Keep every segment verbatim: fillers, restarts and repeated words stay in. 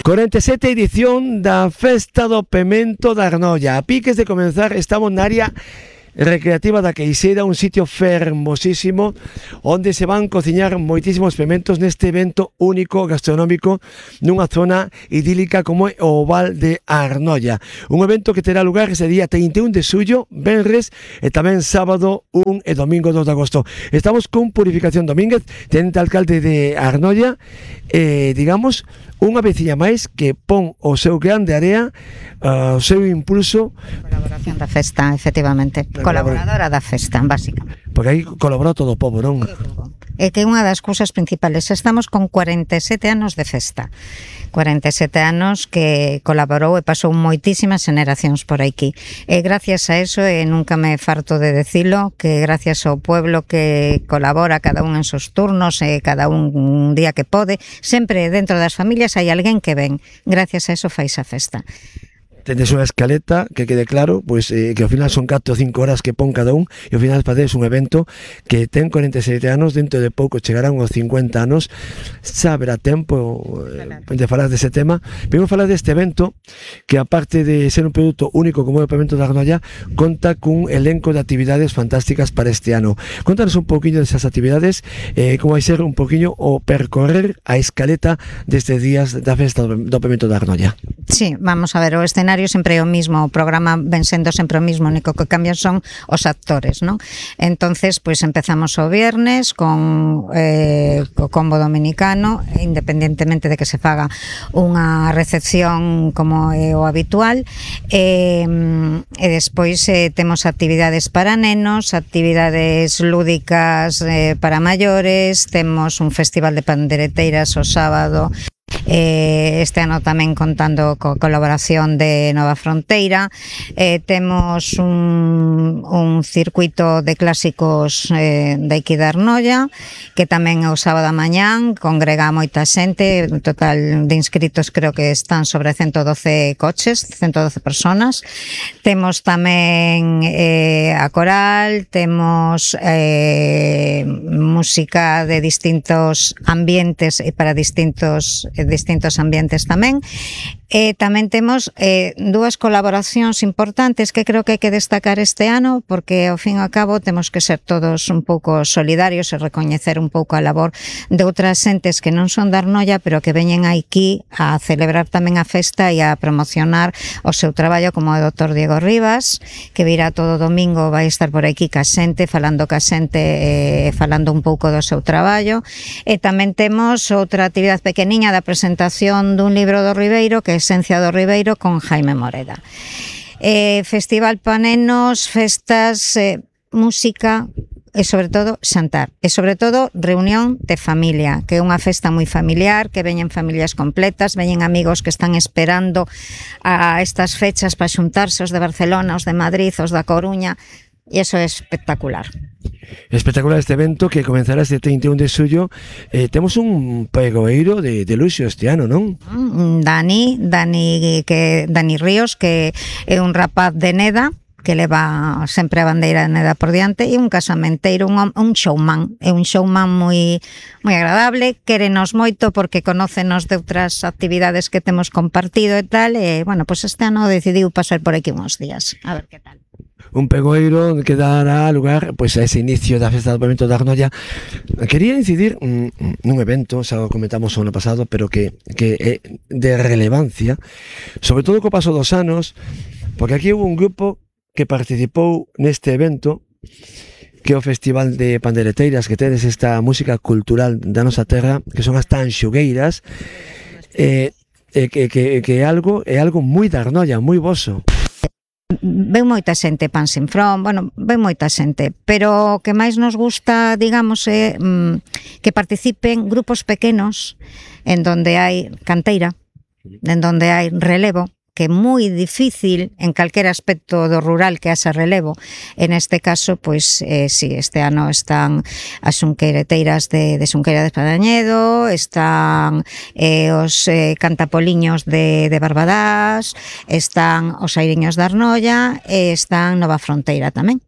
cuarenta e sete edición da Festa do Pemento da Arnolla. A piques de comenzar estamos na área recreativa da Queixeira, un sitio fermosísimo onde se van cociñar moitísimos pementos neste evento único gastronómico nunha zona idílica como é o Val de Arnolla. Un evento que terá lugar ese día trinta e un de xullo, venres e tamén sábado un e domingo dos de agosto. Estamos con Purificación Domínguez, tenente alcalde de Arnolla, e digamos unha veciña máis que pon o seu grande area, uh, o seu impulso. Colaboración da festa, efectivamente. Colaboradora da festa, básicamente. Porque aí colaborou todo o povo, non? É que unha das cousas principales, estamos con cuarenta e sete anos de festa. cuarenta e sete anos que colaborou e pasou moitísimas generacións por aquí. E gracias a eso, e nunca me farto de decilo, que gracias ao pueblo que colabora cada un en seus turnos e cada un un día que pode, sempre dentro das familias hai alguén que ven. Gracias a eso fais a festa. Tendes unha escaleta que quede claro, pois eh, que ao final son catro ou cinco horas que pon cada un e ao final facedes un evento que ten cuarenta e sete anos, dentro de pouco chegarán aos cincuenta anos. Xa haberá tempo eh, de falar dese tema. Vengo a falar deste evento que, aparte de ser un produto único como é o Pemento da Arnolla, conta cun elenco de actividades fantásticas para este ano. Contanos un pouquiño desas actividades, eh, como vai ser un pouquiño o percorrer a escaleta destes días da festa do Pemento da Arnolla. Sí, vamos a ver, o escenario sempre é o mismo, o programa ven sendo sempre o mismo, o único que cambian son os actores, non? Entonces, pois empezamos o viernes con eh, co combo dominicano, independentemente de que se faga unha recepción como é o habitual, e, e despois eh, temos actividades para nenos, actividades lúdicas eh, para maiores, temos un festival de pandereteiras o sábado. Eh, este ano tamén contando co colaboración de Nova Fronteira. Eh, temos un, un circuito de clásicos eh, de aquí de Arnolla, que tamén o sábado a mañán congrega moita xente. Un total de inscritos creo que están sobre ciento doce coches, ciento doce personas. Temos tamén eh, a coral, temos eh, música de distintos ambientes e para distintos distintos ambientes tamén. E tamén temos eh, dúas colaboracións importantes que creo que hai que destacar este ano, porque ao fin e ao cabo temos que ser todos un pouco solidarios e recoñecer un pouco a labor de outras xentes que non son da Arnolla, pero que veñen aquí a celebrar tamén a festa e a promocionar o seu traballo, como o doutor Diego Rivas, que virá todo domingo, vai estar por aquí ca xente, falando ca xente e eh, falando un pouco do seu traballo. E tamén temos outra actividade pequeniña da presentación dun libro do Ribeiro, que é Esencia do Ribeiro, con Jaime Moreda. Eh, festival pa nenos, festas, eh, música e sobre todo xantar. E sobre todo reunión de familia, que é unha festa moi familiar, que veñen familias completas, veñen amigos que están esperando a estas fechas para xuntarse, os de Barcelona, os de Madrid, os da Coruña, e iso é espectacular. Espectacular este evento que comenzará este trinta e un de xullo. Eh, temos un pregoeiro de, de luxo este ano, non? Dani, Dani, que, Dani Ríos, que é un rapaz de Neda, que leva sempre a bandeira de Neda por diante, e un casamenteiro, un, un showman, é un showman moi moi agradable, quérenos moito porque conócenos de outras actividades que temos compartido e tal, e, bueno, pois pues este ano decidiu pasar por aquí uns días, a ver que tal. Un pegoeiro que dará lugar pois, a ese inicio da festa do Pemento da Arnolla. Quería incidir mm, nun evento, xa o comentamos o ano pasado, pero que, que é de relevancia, sobre todo co paso dos anos, porque aquí hubo un grupo que participou neste evento, que é o Festival de Pandereteiras, que tedes esta música cultural da nosa terra, que son as tanxugueiras, eh, eh, que, que, que é algo, é algo moi da Arnolla, moi voso. Ven moita xente, Pan Sin From, bueno, ven moita xente, pero o que máis nos gusta, digamos, é mm, que participen grupos pequenos en donde hai canteira, en donde hai relevo, que é moi difícil en calquera aspecto do rural que haxa relevo. En este caso, pois, eh, si, este ano están as xunqueireteiras de, de Xunqueira de Espadañedo, están eh, os eh, cantapoliños de, de Barbadás, están os airiños de Arnolla e están Nova Fronteira tamén.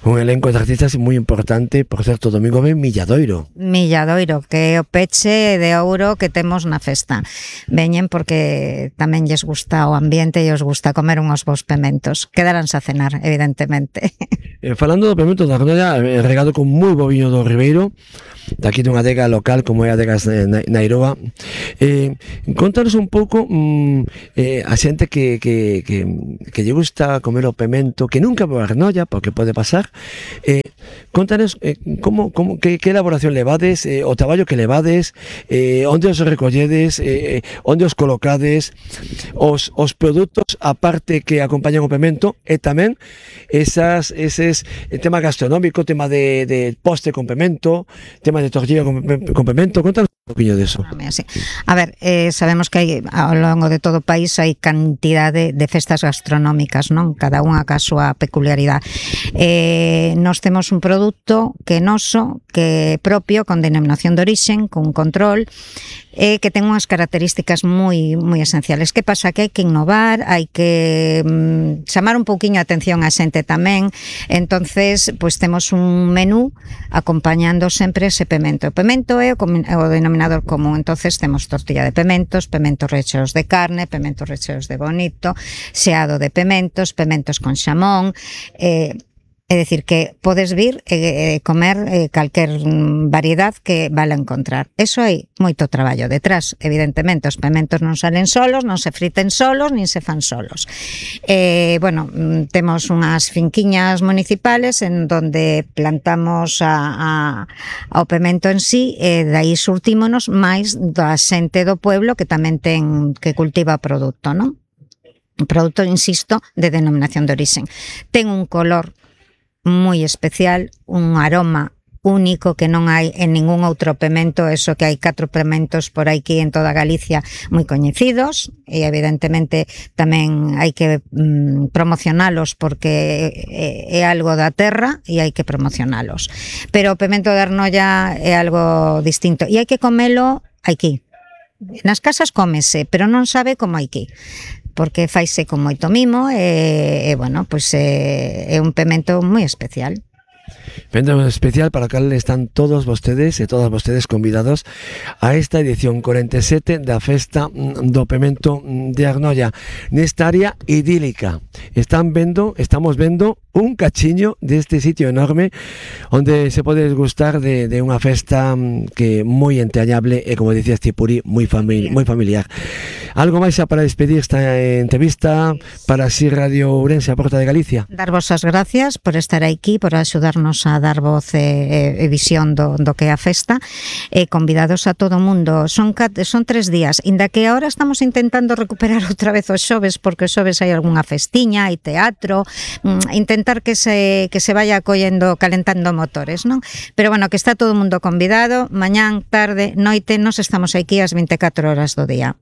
Un elenco de artistas moi importante, por certo, domingo ven Milladoiro. Milladoiro, que é o peche de ouro que temos na festa. Veñen porque tamén lles gusta o ambiente e os gusta comer unhos bons pementos. Quedaránse a cenar, evidentemente. Eh, falando do pemento da Arnoia, eh, regado con moi bo viño do Ribeiro, daqui dunha adega local como é a adega Nairoa. Eh, contanos un pouco mm, eh, a xente que, que, que, que lle gusta comer o pemento, que nunca vou a Arnoia, porque pode pasar. Eh, contanos eh, como, como, que, que elaboración levades, eh, o traballo que levades, eh, onde os recolledes, eh, onde os colocades, os, os produtos aparte que acompañan o pemento, e tamén esas, eses, el tema gastronómico, tema de, de poste con pemento, tema de tortilla con, con pemento. Contanos un poquinho de eso. A ver, eh, sabemos que hai, ao longo de todo o país hai cantidade de festas gastronómicas, non? Cada unha ca súa peculiaridade. Eh, nos temos un produto que é noso, que é propio, con denominación de orixen, con control, e que ten unhas características moi moi esenciales. Que pasa? Que hai que innovar, hai que mm, chamar un pouquiño a atención a xente tamén. Entonces, pois temos un menú acompañando sempre ese pemento. O pemento é o, o denominador común. Entonces temos tortilla de pementos, pementos recheos de carne, pementos recheos de bonito, xeado de pementos, pementos con xamón, eh, é dicir, que podes vir e eh, comer eh, calquer variedad que vale encontrar. Eso hai moito traballo detrás. Evidentemente, os pementos non salen solos, non se friten solos, nin se fan solos. Eh, bueno, temos unhas finquiñas municipales en donde plantamos a, a, ao pemento en sí, e dai surtímonos máis da xente do pueblo que tamén ten que cultiva o produto, non? Un produto, insisto, de denominación de orixen. Ten un color moi especial, un aroma único que non hai en ningún outro pemento. Eso que hai catro pementos por aquí en toda Galicia moi coñecidos, e evidentemente tamén hai que mm, promocionalos porque é, é algo da terra e hai que promocionalos. Pero o pemento de Arnoia é algo distinto e hai que comelo aquí. Nas casas cómese, pero non sabe como aquí, porque faise con moito mimo e, e bueno, pois é, é un pemento moi especial. Pemento especial para o cal están todos vostedes e todas vostedes convidados a esta edición cuarenta e sete da Festa do Pemento de Arnoia, nesta área idílica. Están vendo, estamos vendo un cachiño deste sitio enorme onde se pode desgustar de, de unha festa que moi entrañable e, como dicías ti, Puri, moi, famili moi familiar. Algo máis xa para despedir esta entrevista para así Radio Ourense, a Porta de Galicia? Darvos as gracias por estar aquí, por axudarnos a dar voz e, e visión do, do que é a festa, e convidados a todo o mundo. Son, son tres días, inda que agora estamos intentando recuperar outra vez os xoves, porque os xoves hai algunha festiña, hai teatro, intentar que se, que se vaya acollendo, calentando motores, non? Pero bueno, que está todo o mundo convidado, mañán, tarde, noite, nos estamos aquí ás veinticuatro horas do día.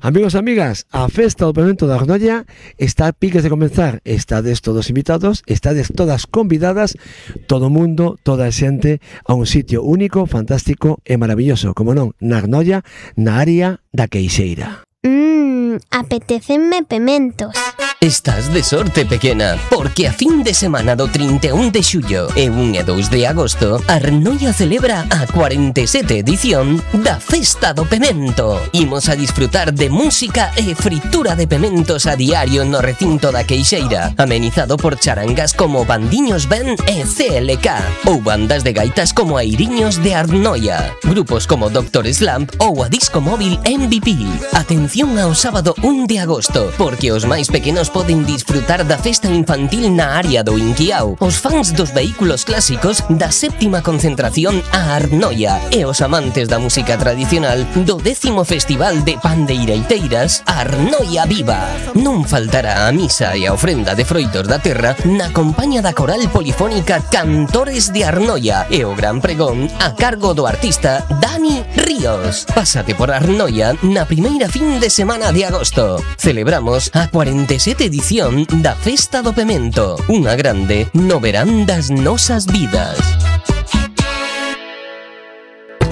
Amigos e amigas, a Festa do Pemento da Arnoia está a piques de comenzar. Estades todos invitados, estades todas convidadas, todo o mundo, toda a xente, a un sitio único, fantástico e maravilloso, como non, na Arnoia, na área da Queixeira. Mmm, apetécenme pementos. Estás de sorte, pequena, porque a fin de semana do trinta e un de xullo e un e dous de agosto, Arnoia celebra a cuarenta e sete edición da Festa do Pemento. Imos a disfrutar de música e fritura de pementos a diario no recinto da Queixeira, amenizado por charangas como Bandiños Ben e C L K, ou bandas de gaitas como Airiños de Arnoia, grupos como Doctor Slump ou a disco móvil M V P. Atención ao sábado un de agosto, porque os máis pequenos poden disfrutar da festa infantil na área do Inquiao, os fans dos vehículos clásicos da séptima concentración a Arnoia e os amantes da música tradicional do décimo Festival de Pandeireiteiras Arnoia Viva. Non faltará a misa e a ofrenda de froitos da terra na compaña da coral polifónica Cantores de Arnoia e o gran pregón a cargo do artista Dani Ríos. Pásate por Arnoia na primeira fin de semana de agosto. Celebramos a cuarenta e sete edición da Festa do Pemento, unha grande no verán das nosas vidas.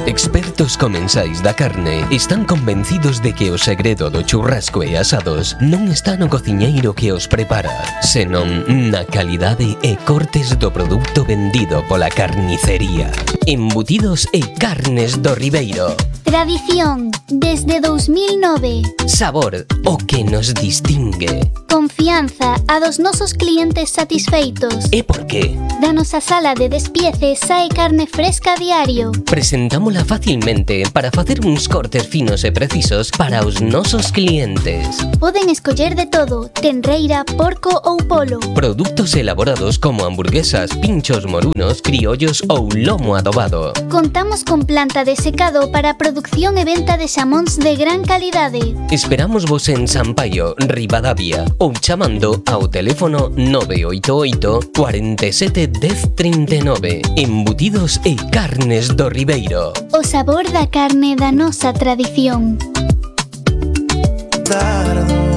Experto expertos comensais da carne están convencidos de que o segredo do churrasco e asados non está no cociñeiro que os prepara, senón na calidade e cortes do produto vendido pola carnicería. Embutidos e carnes do Ribeiro. Tradición, desde dos mil nove. Sabor, o que nos distingue. Confianza, a dos nosos clientes satisfeitos. E por qué? Da nosa sala de despiece sae carne fresca a diario. Presentámola facilmente para facer uns cortes finos e precisos para os nosos clientes. Poden escoller de todo, tenreira, porco ou polo. Produtos elaborados como hamburguesas, pinchos morunos, criollos ou lomo adobado. Contamos con planta de secado para producción e venta de xamóns de gran calidade. Esperamos vos en Sampaio, Ribadavia, ou chamando ao teléfono nove oito oito, cuarenta e sete, dez, trinta e nove. Embutidos e carnes do Ribeiro. O sabor da carne da nosa tradición.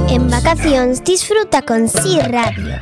En vacacións disfruta con Si Radio.